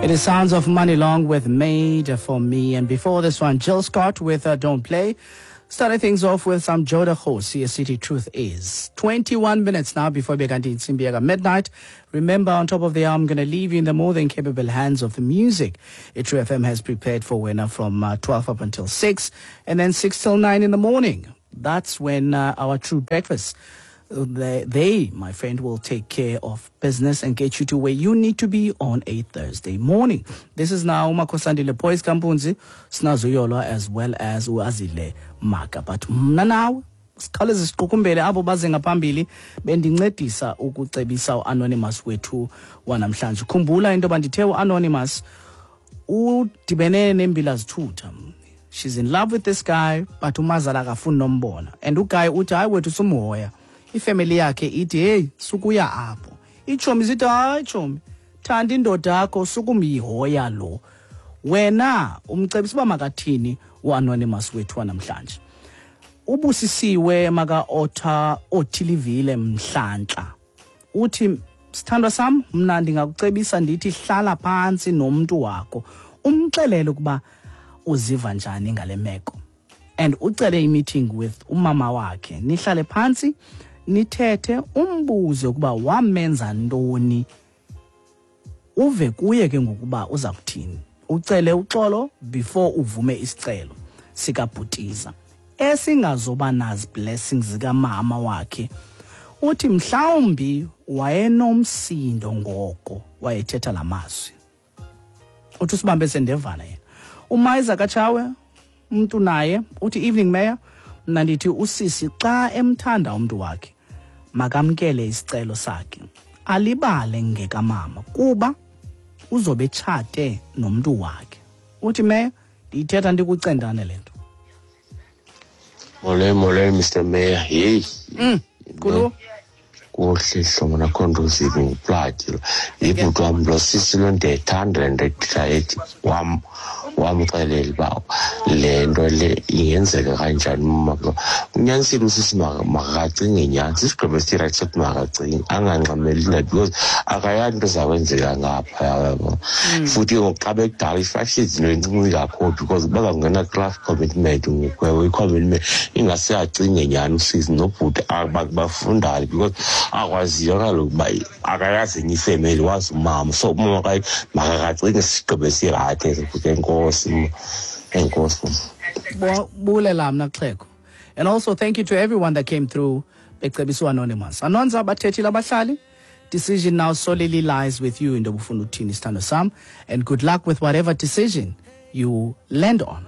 It is Sounds of Money Long with Made for Me. And before this one, Jill Scott with Don't Play. Started things off with some Joda Hosi, City Truth Is. 21 minutes now before Beganti Insimbiaga midnight. Remember, on top of the hour, I'm going to leave you in the more than capable hands of the music. True FM has prepared for winner from 12 up until 6 and then 6 till 9 in the morning. That's when our True Breakfast they, they, my friend, will take care of business and get you to where you need to be on a Thursday morning. This is now uMakhosandile Boys Kampunzi, Snazuyolo, as well as uAzile Maka. But mna nawe sikhawuleze siqukumbele abo baze ngaphambili bendincedisa ukucebisa uanonymous wethu wanamhlanje. Khumbula into yoba ndithe uanonymous udibene nembila zithutha. She's in love with this guy, but umazala akafuni nombona, and uguy uthi, "Hayi wethu, sumhoya." Ifemeli yakhe ithi, "Heyi, sukuya apho." Itshomi zithi, "Hayi tshomi, thanda indoda yakho, sukumyihoya lo." Wena umcebisa uba makathini uanonymous wethu wanamhlanje? Ubusisiwe maka-otha othilivile mhlantla uthi, "Sithandwa sam, mna ndingakucebisa ndithi hlala phantsi nomntu wakho, umxelele ukuba uziva njani ngale meko and ucele i-meeting with umama wakhe, nihlale phantsi nithethe, umbuze ukuba wamenza ntoni, uve kuye ke ngokuba uza kuthini. Ucele uxolo before uvume isicelo sikabhutiza esingazoba nazi blessings zikamama wakhe." Uthi mhlawumbi wayenomsindo ngoko wayethetha la mazwi. Uthi usibambe sendevana yena. Umayiza katshawe umntu naye uthi, "Evening Mayor, mna ndithi usisi xa emthanda umntu wakhe makamkele isicelo sakhe, alibale ngekamama kuba uzobe etshate nomntu wakhe." Uthi, "Mayor, ndiyithetha ndikucendane le nto." Molweni, molweni, Mr Mayor. Heyi. Kulu. Kuhle hlobo nakho nto uzive nguplati lo. Yibhuti wam lo sisi lo, ndiyayithanda le nto ethetha ethi wamxelela uba le nto le ingenzeka kanjani. Mama lo unyanisile usisi, makacinge nyhani. Sisigqibo esirayithi sokuthi makacinge, angangxameli nto because akayazi into ezakwenzeka ngaphaya, yabo. Futhi ke ngoku xa bekudala i-5 years into encinci kakhulu because bazawungena kulaa commitment ngoku. Ewe, i-commitment ingase acinge nyhani usisi nobhuti bafundane because akwaziyo kaloku uba akayazi enye ifemeli, wazi umama. So umama makakacinge, sisigqibo esirayithi eso futhi. Enkosi, enkosi. Bulela mna xhego. And also thank you to everyone that came through becebisa uanonymous. Anonza bathethile abahlali. Decision now solely lies with you into obufuna uthini, sithando sam, and good luck with whatever decision you land on.